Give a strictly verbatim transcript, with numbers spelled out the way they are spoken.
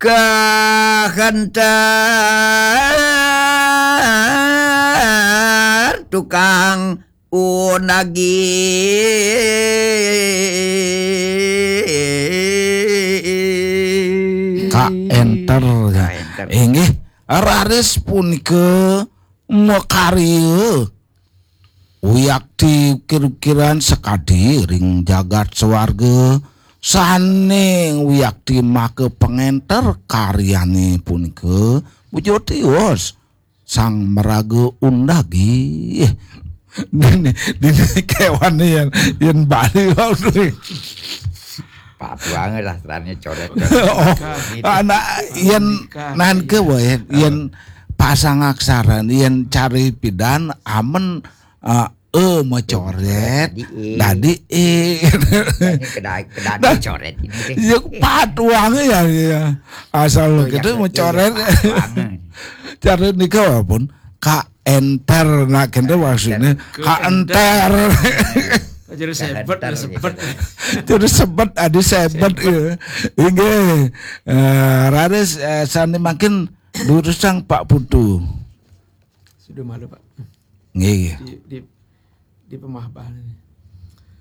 Kahentar tukang unagi. Ka enter ya. Ka enter. Inggih, raris punika makarya wiakti ukir-ukiran sakadi ring jagat swarga, sane wiakti maka pangenter karyane punika. Bujur tios sang maraga undagi. Dini, dini kewan yen, yen Bali waduh. Pak Tuange lah terane coret. Oh, anak yen nan ke wae, yen pasang aksara, yen cari pidan amen, eh, e macoret, Dadi e. Dadi e. Ini kedai kedai coret ini deh. Ya Pak Tuange ya, ya. Asal kita macoret. Cari nika walaupun ka enter, nah kene maksudnya ka enter. Jadi sebet, Enter, sebet. Terus sebet, ada sebet ya. Inggih. Eh, raris, eh, sane mangkin durusang Pak Putu. Sudah malu, Pak. Nggih. Di di di pemahbah ini.